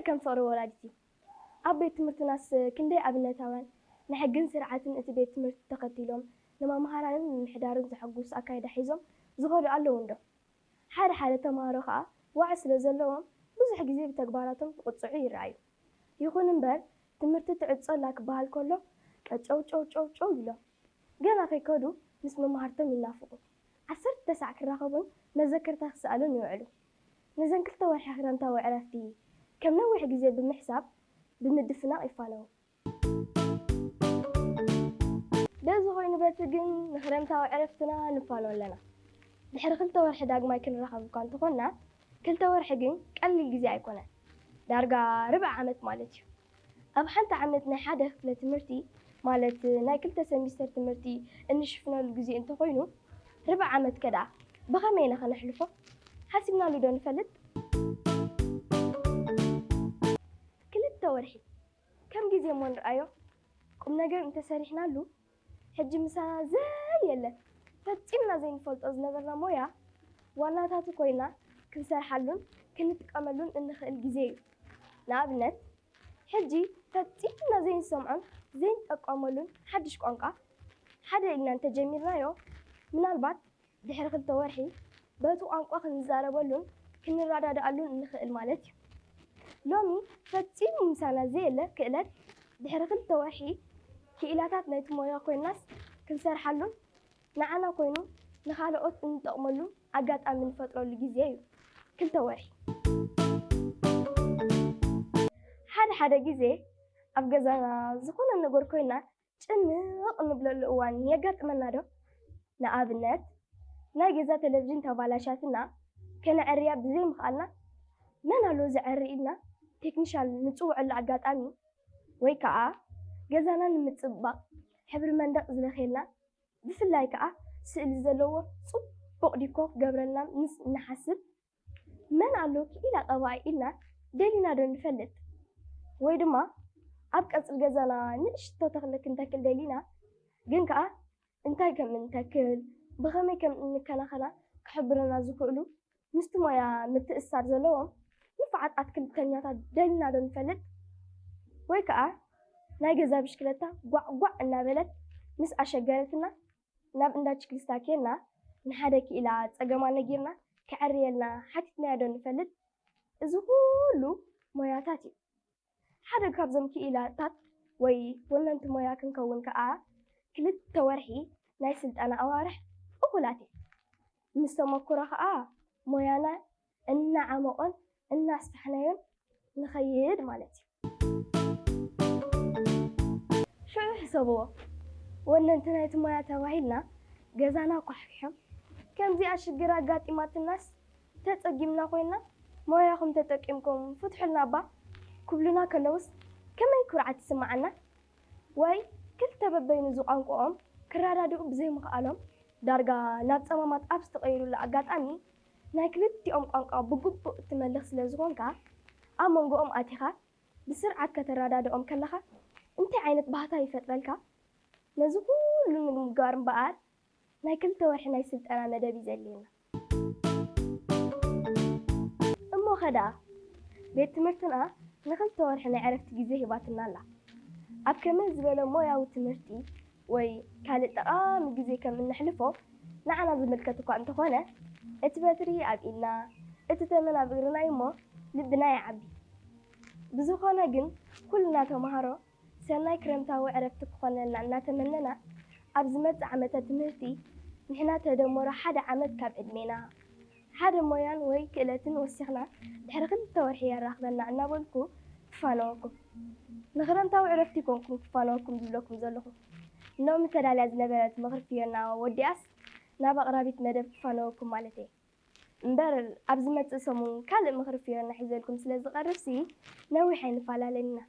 ከም ፍቕሪ ወላዲት እዩ። ኣብ ቤት ትምህርትናስ ክንደይ ኣብነታውያን ንሕግን ስርዓትን እቲ ቤት ትምህርቲ ተኸቲሎም ንመምሃራንን ንምሕዳርን ዘሐጉስ ኣካይዳ ሒዞም ዝኸዱ ኣለዉ እንዶ? ሓደ ሓደ ተምሃሮ ከኣ ዋዒ ስለ ዘለዎም ብዙሕ ግዜ ብተግባራቶም ክቕጽዑ ይረኣዩ። ይኹን እምበር ትምህርቲ ትዕጾ ኣላ ክበሃል ከሎ ቀጨው ጨው ጨው ጨው ኢሎም ገና ከይከዱ ምስ መማህርቶም ይናፍቑ። ዓሰርተ ሳዕ ክራኸቡን መዘከርታ ክሰኣሉን ይውዕሉ። ነዘን ክልተ ወርሒ ክረምታዊ ዕረፍቲ ከም ነዊሕ ግዜ ብምሕሳብ ብምድፍናቕ ይፋነዉ። በዚ ኮይኑ በቲ ግን ንክረምታዊ ዕረፍትና ንፋኖ ኣለና። ድሕሪ ክልተ ወርሒ ዳግማይ ክንራኸብ እኳ እንተኾንና፣ ክልተ ወርሒ ግን ቀሊል ግዜ ኣይኮነን። ዳርጋ ርብዒ ዓመት ማለት እዩ። ኣብ ሓንቲ ዓመት ናይ ሓደ ክፍለ ትምህርቲ ማለት ናይ ክልተ ሰሚስተር ትምህርቲ እንሽፍነሉ ግዜ እንተኾይኑ፣ ርብዒ ዓመት ከ ደኣ ብኸመይ ኢና ከነሕልፎ? ሓሲብናሉ ዶ ንፈልጥ? ክልተ ወርሒ ከም ግዜ እሞ ንርኣዮ። ቁም ነገር እንተሰሪሕናሉ፣ ሕጂ ምሳና ዘየለ ፈጺምና ዘይንፈልጦ ዝነበርና ሞያ ዋናታቱ ኮይና ክንሰርሓሉን ክንጥቀመሉን እንኽእል ግዜ እዩ። ንኣብነት፣ ሕጂ ፈጺምና ዘይንሰምዖን ዘይንጠቀመሉን ሓድሽ ቋንቋ ሓደ ኢልና እንተጀሚርናዮ፣ ምናልባት ድሕሪ ክልተ ወርሒ በቲ ቋንቋ ክንዛረበሉን ክንረዳድኣሉን እንኽእል ማለት እዩ። ሎሚ ፈጺሙ ምሳና ዘየለ ክእለት ድሕሪ ክልተ ወርሒ ክኢላታት ናይቲ ሞያ ኮይንናስ ክንሰርሓሉን ንዓና ኮይኑ ንኻልኦት እንጠቕመሉ ኣጋጣሚ ንፈጥረሉ ግዜ እዩ። ክልተ ወርሒ። ሓደ ሓደ ግዜ ኣብ ገዛና ዝኾነ ነገር ኮይና ጭንቕ እንብለሉ እዋን የጋጥመና ዶ? ንኣብነት ናይ ገዛ ቴሌቪዥን ተባላሽያትና ከነዐርያ ብዘይምኽኣልና መን ኣሎ ዘዐሪ ኢልና ቴክኒሻን ንጽውዐሉ ኣጋጣሚ ወይ ከኣ ገዛና ንምጽብባቕ ሕብሪ መንደቕ ዝለኽየልና ብፍላይ ከኣ ስእሊ ዘለዎ ጽቡቕ ዲኮር ክገብረልና ምስ እንሓስብ መን ኣሎ ክኢላ ቀባኢ ኢልና ደሊና ዶ ንፈልጥ? ወይ ድማ ኣብ ቀጽሪ ገዛና ንእሽቶ ተኽሊ ክንተክል ደሊና ግን ከኣ እንታይ ከም እንተክል ብኸመይ ከም እንከናኸና ክሕብሩና ዝኽእሉ ምስቲ ሞያ ምትእስሳር ዘለዎም ንፉዓት ኣትክልተኛታት ደሊና ዶ ንፈልጥ? ወይ ከኣ ናይ ገዛ ብሽክለታ ጓዕ ጓዕ እናበለት ምስ ኣሸገረትና ናብ እንዳ ችክሊስታ ኬድና ንሓደ ክኢላ ጸገማ ነጊርና ከዐርየልና ሓቲትናዮ ዶ ንፈልጥ? እዚ ኩሉ ሞያታት እዩ። ሓደ ካብዞም ክኢላታት ወይ ወነንቲ ሞያ ክንከውን ከኣ ክልተ ወርሒ ናይ ስልጠና ኣዋርሕ እኹላት እየን። ምስ ተመክሮ ከኣ ሞያና እናዓመቖን እናስፋሕናዮን ንኸይድ ማለት እዩ። ሽዑ ሕሰብዎ፣ ወነንቲ ናይቲ ሞያ ተባሂልና ገዛና ኳሕኪሖም ከምዚኣ ሽግር ኣጋጢማትናስ ተጸጊምና ኮይና ሞያኹም ተጠቂምኩም ፍትሑልና እባ ክብሉና ከለውስ ከመይ ኩርዓት ይስምዓና? ወይ ክልተ በበይኑ ዝቋንቋኦም ክረዳድኡ ብዘይምኽኣሎም ዳርጋ ናብ ጸማማት ኣብ ዝተቐየሩሉ ኣጋጣሚ ናይ ክልቲኦም ቋንቋ ብግቡእ እትመልኽ ስለ ዝኾንካ ኣብ መንጎኦም ኣቲኻ ብስርዓት ከተረዳድኦም ከለኻ እንታይ ዓይነት ባህታ ይፈጥረልካ? ነዚ ኩሉ ንምግባር እምበኣር ናይ ክልተ ወርሒ ናይ ስልጠና መደብ እዩ ዘድልየና። እሞ ኸ ደኣ ቤት ትምህርትና ንክልተ ወርሒ ናይ ዕረፍቲ ግዜ ሂባትና ኣላ። ኣብ ከመይ ዝበለ ሞያዊ ትምህርቲ ወይ ካልእ ጠቓሚ ግዜ ከም እነሕልፎ ንዓና ዝምልከት እኳ እንተኾነ፣ እቲ በትሪ ኣብ ኢድና፣ እቲ ተመን ኣብ እግርና እዩ እሞ ልብና ይዓቢ። ብዝኾነ ግን ኩልና ተምሃሮ ሰናይ ክረምታዊ ዕረፍቲ ክኾነልና እናተመነና፣ ኣብ ዝመጽእ ዓመተ ትምህርቲ ንሕና ተደመሮ ሓደ ዓመት ካብ ዕድሜና፣ ሓደ ሞያን ወይ ክእለትን ወሲኽና ድሕሪ ክልተ ወርሒ የራኽበና እናበልኩ ክፋነወኩም። ንክረምታዊ ዕረፍቲ ይኮንኩም ክፋነወኩም ዝብለኩም ዘለኹ። ሎሚ ተዳልያ ዝነበረት ምኽሪ ፍዮና ወዲኣስ ናብ ኣቕራቢት መደብ ክፋነወኩም ማለተይ። እምበር ኣብ ዝመጽእ ሰሙን ካልእ ምኽሪ ፍዮና ሒዘልኩም ስለ ዝቐርብሲ ነዊሕ ኣይንፈላለን ኢና።